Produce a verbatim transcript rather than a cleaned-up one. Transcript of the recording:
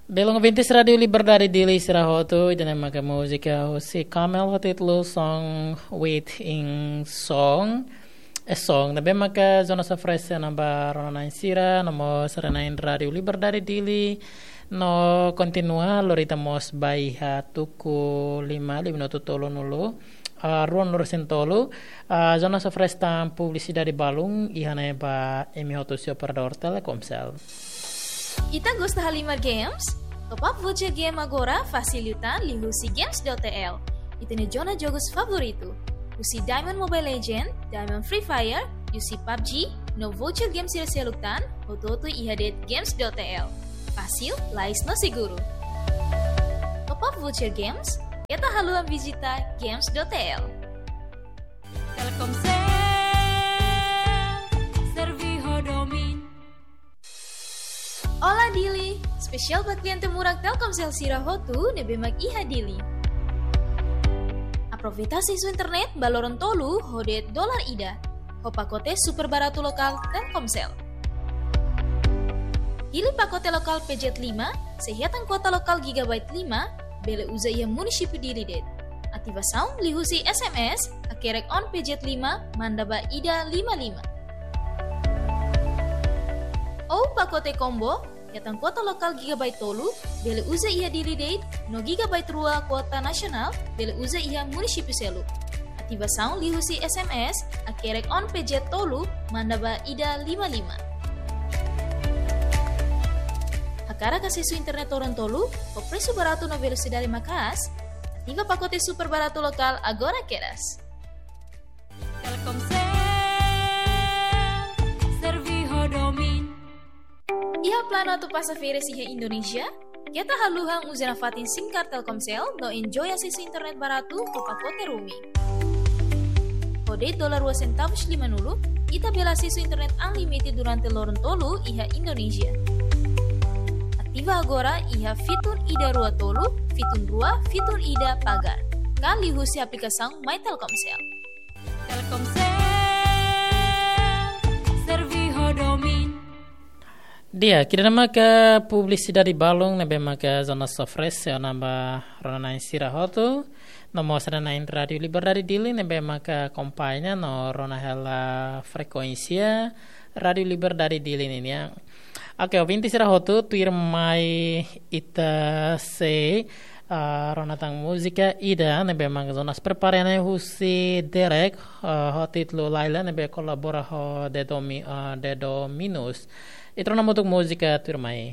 Belun ouvintes Rádiu Liberdade Dili sira hotu, ida-ne'e maka múzika husi Kamel ho títulu Song Within Song. E song ne'ebé maka Jonas oferese ona ba rona-na'in sira, no mós rona-na'in Rádiu Liberdade Dili, no kontinua lori ita mós ba iha tuku lima, lima minutu tolunulu, ah, ruanulu-resin-tolu, ah, Jonas oferese tan publisidade balun, iha ne'e ba imi hotu husi operadór Telkomsel. Ita gosta halimar games? Top up voucher game agora fasil liután liuhusi games dot T L. Ita-nia zona jogus favoritu. Husi Diamond Mobile Legend, Diamond Free Fire, husi PUBG, no voucher games sira seluk tan, hotu-hotu iha de'it games dot T L. Fasil, lais no seguru. Top up voucher games, keta haluha vizita games dot T L. Telkomsel, serve ho domin. Olá Dili, espesiál ba kliente murak Telkomsel sira hotu ne'ebé mak iha Dili. Aproveita asesu internet ba loron tolu ho de'it dolar ida, ho pakote super baratu lokál Telkomsel. Hili pakote lokál P Z lima, sei hetan kuota lokál gigabyte lima, bele uza iha munisípiu Dili de'it. Ativasaun liuhusi S M S, hakerek on P Z lima, manda ba ida lima lima. Ou pakote combo, hetan kuota lokál gigabyte tolu, bele uza iha Dili de'it, no gigabyte rua kuota nasionál, bele uza iha munisípiu seluk. Ativasaun liuhusi S M S, hakerek on P Z tolu, manda ba ida lima lima. Hakarak asesu internet loron tolu, ho presu baratu no velosidade maka'as, ativa pakote super baratu lokál agora kedas. Telkomsel, serve ho domin. Iha planu atu pasa férias iha Indonézia? Keta haluha uza nafatin SIM card Telkomsel no enjoy asesu internet baratu ho pakote roaming. Ho de'it dolar rua sentavus limanulu, ita bele asesu internet unlimited durante loron tolu iha Indonézia. Ativa agora iha fitun ida rua tolu, fitun rua, fitun ida pagar. Ka liuhusi aplikasaun My Telkomsel. Telkomsel, serve ho domin. Di'ak, ida-ne'e maka publisidade balun ne'ebé maka Jonas oferese ona ba rona-na'in sira hotu, no mós rona-na'in Rádiu Liberdade Dili ne'ebé maka akompaña no rona hela frekuénsia Rádiu Liberdade Dili ninian. Oke, ouvintes sira hotu, tuirmai ita sei, ah, rona tan múzika ida ne'ebé mak Jonas prepara ne'e husi Derek, ah, ho títulu Laila ne'ebé kolabora ho The Domi-, ah, The Dominos. Ita rona hamutuk múzika tuirmai.